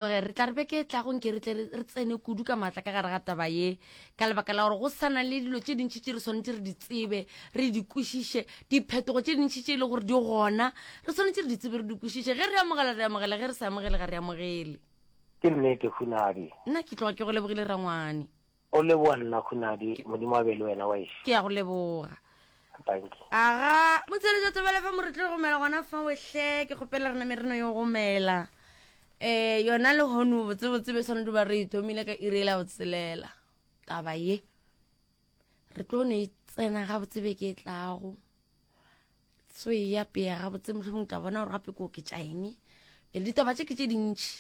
Re tla re beke e tlago nke re tle re tsene kudu ka maatla ka gare ga taba ye, ka lebaka la gore go sa na le dilo tše dintši tše re swanetše re di tsebe, re di kwešiše, diphetogo tše dintši tše e le gore di gona, re swanetše re di tsebe, re di kwešiše. Ge re amogela, re amogela, ge re sa amogele, ga re amogele. Ke nnete, Hunadi. Nna ke tloga ke go lebogile, rangwane. O leboga nna, Hunadi. Modimo a be le wena, waešu. Ke a go leboga. Dankie. Aga, motsheletša thobela fa mo re tlo gomela gona fa wehle, ke kgopela re name re no yo gomela. Eh, yona le hono botsebotse be swanetše ba re e thomile ka iri la botshelela. Taba ye re tlo ne e tsena gabotse beke e tlago. Tso e ya pea gabotse mohlomong tla bona gore gape ke oketša eng. Pele ditaba tše ke tše dintši.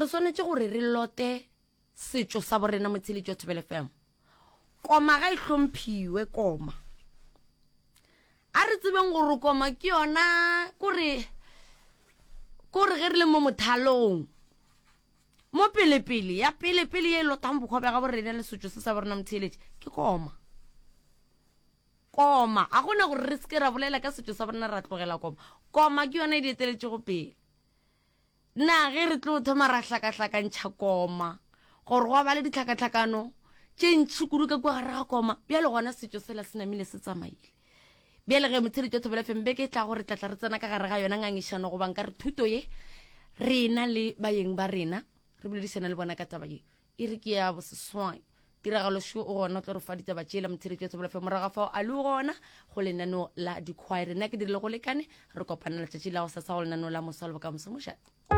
Re swanetše gore re lote setšo sa borena motsheletši wa Thobela FM. Koma ga e hlomphiwe koma. A re tsebeng gore koma ke yona kore kore ge re le mo mothalong mo pelepele ya pelepele ye e lotang bokgwa bja ga borena le setšo se sa borena motheeletši ke koma. Koma ga gona gore re seke ra bolela ka setšo sa borena ra tlogela koma. Koma ke yona e di eteletšego pele. Na ge re tlo thoma ra hlakahlakantšha koma, gore gwa ba le ditlhakatlhakano tše ntši kudu ka kua gare ga koma, bjale gona setšo sela se namile se tsamaile. Bjale ge motheletši wa Thobela FM beke e tlago re tlatla re tsena ka gare ga yona ngangišano goba nka re thuto ye rena le baeng ba rena re boledišana le bona ka taba ye. E re ke ya boseswai. Tiragalo šo o gona o tlo re fa ditaba tšela motheletši wa Thobela FM morago ga fao a le gona go lenaneo la dikhwaere. Nna ke dirile go lekane re kopana letšatši la go sasa go lenaneo la moswa le bokamoso mošate.